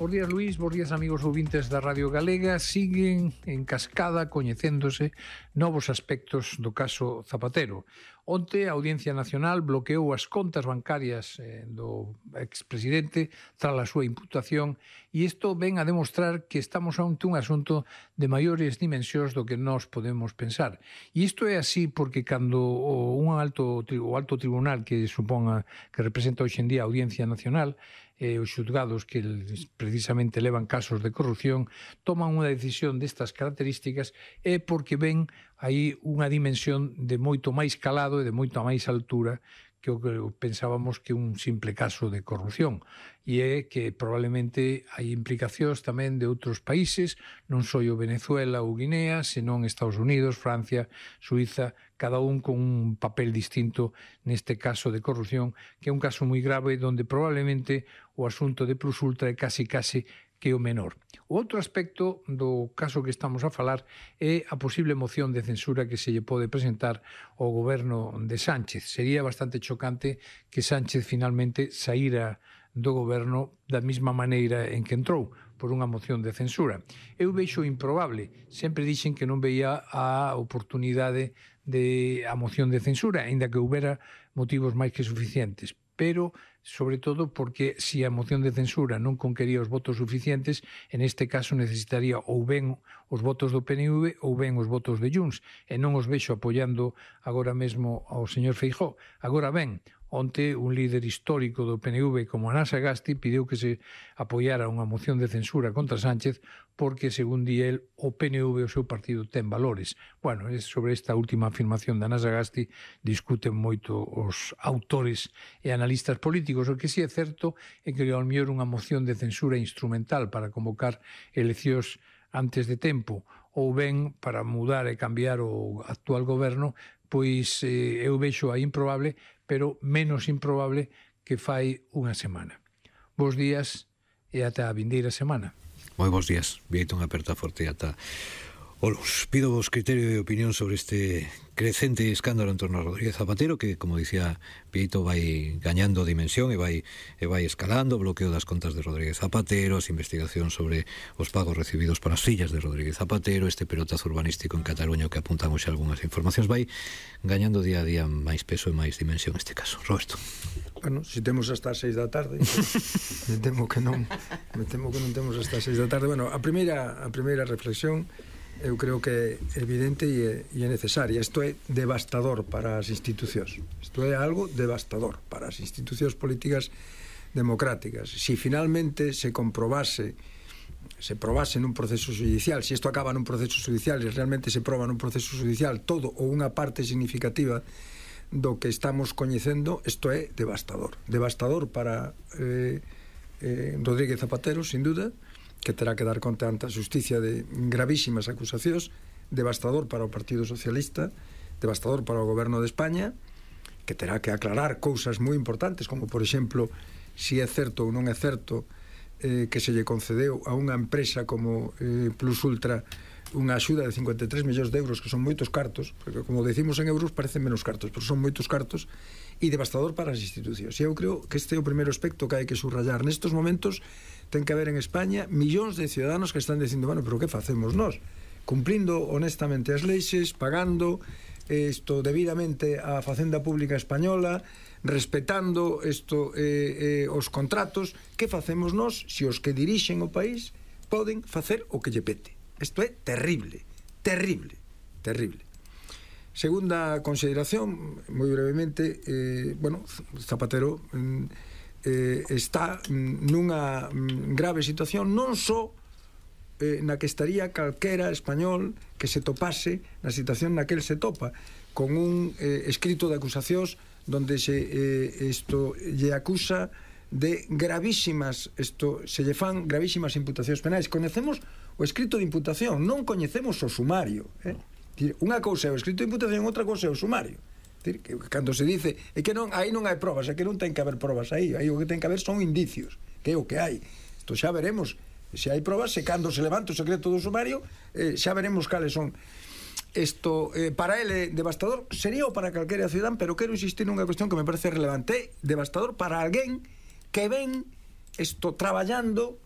Bos días, Luís, bos días, amigos ouvintes da Radio Galega. Siguen en cascada coñecéndose novos aspectos do caso Zapatero. Onte, a Audiencia Nacional bloqueou as contas bancarias do expresidente tras a súa imputación e isto ven a demostrar que estamos ante un asunto de maiores dimensións do que nós podemos pensar. E isto é así porque cando o alto tribunal que representa hoxe en día a Audiencia Nacional, os xulgados que precisamente levan casos de corrupción, toman unha decisión destas características é porque ven aí unha dimensión de moito máis calado e de moito máis altura que o que pensábamos que un simple caso de corrupción. E é que probablemente hai implicacións tamén de outros países, non só o Venezuela ou Guinea, senón Estados Unidos, Francia, Suiza, cada un con un papel distinto neste caso de corrupción, que é un caso moi grave donde probablemente o asunto de Plus Ultra é casi que o menor. O outro aspecto do caso que estamos a falar é a posible moción de censura que se lle pode presentar ao goberno de Sánchez. Sería bastante chocante que Sánchez finalmente saíra do goberno da mesma maneira en que entrou, por unha moción de censura. Eu vexo improbable. Sempre dixen que non veía a oportunidade de a moción de censura, aínda que houbera motivos máis que suficientes. Pero, sobre todo, porque se a moción de censura non conquería os votos suficientes, en este caso necesitaría ou ben os votos do PNV ou ben os votos de Junts, e non os vexo apoiando agora mesmo ao señor Feijóo. Agora ben, onte un líder histórico do PNV como Ana Sagasti pideu que se apoiara unha moción de censura contra Sánchez porque, según di el, o PNV, o seu partido, ten valores. Bueno, sobre esta última afirmación de Ana Sagasti discuten moito os autores e analistas políticos. O que sí é certo é que ao mellor unha moción de censura instrumental para convocar eleccións antes de tempo ou ben para mudar e cambiar o actual goberno, pois eu vexo a improbable, pero menos improbable que fai unha semana. Bos días e ata a vindeira semana. Moi bons días, Vieito, unha aperta forte ata o luns. Pido vos criterio e opinión sobre este crecente escándalo en torno a Rodríguez Zapatero, que, como dicía Vieito, vai gañando dimensión e vai escalando, o bloqueo das contas de Rodríguez Zapatero, as investigacións sobre os pagos recibidos para as fillas de Rodríguez Zapatero, este pelotazo urbanístico en Cataluña que apuntan hoxe algunhas informacións, vai gañando día a día máis peso e máis dimensión este caso. Roberto. Bueno, se temos hasta as 6 da tarde, me temo que non temos hasta as 6 da tarde. Bueno, a primeira reflexión eu creo que é evidente e é necesaria. Isto é devastador para as institucións. Isto é algo devastador para as institucións políticas democráticas. Si finalmente se probase nun proceso judicial, se isto acaba nun proceso judicial e realmente se proba nun proceso judicial todo ou unha parte significativa do que estamos coñecendo, isto é devastador. Devastador para Rodríguez Zapatero, sin duda, que terá que dar conta ante a xusticia de gravísimas acusacións, devastador para o Partido Socialista, devastador para o Goberno de España, que terá que aclarar cousas moi importantes, como, por exemplo, si é certo ou non é certo que se lle concedeu a unha empresa como Plus Ultra unha axuda de 53 millóns de euros, que son moitos cartos, porque, como decimos en euros, parecen menos cartos, pero son moitos cartos, e devastador para as institucións. E eu creo que este é o primeiro aspecto que hai que subrayar. Nestes momentos ten que haber en España millóns de ciudadanos que están dicindo, bueno, pero que facemos nós? Cumplindo honestamente as leixes, pagando isto debidamente á Facenda Pública Española, respetando os contratos, que facemos nós se os que dirixen o país poden facer o que lle pete? Isto é terrible, terrible, terrible. Segunda consideración, moi brevemente, bueno, Zapatero está nunha grave situación, non só na que estaría calquera español que se topase na situación na que el se topa, con un escrito de acusacións donde lle acusa de gravísimas, se lle fan gravísimas imputacións penais. Conocemos o escrito de imputación, non coñecemos o sumario. Unha cousa é o escrito de imputación, outra cousa é o sumario. Cando se dice é que non, aí non hai probas, é que non ten que haber probas aí o que ten que haber son indicios, que é o que hai. Isto xa veremos se hai probas, se cando se levanta o secreto do sumario, xa veremos cales son. Isto, para ele, devastador sería o para calquera cidadán, pero quero insistir nunha cuestión que me parece relevante. Devastador para alguén que ven isto traballando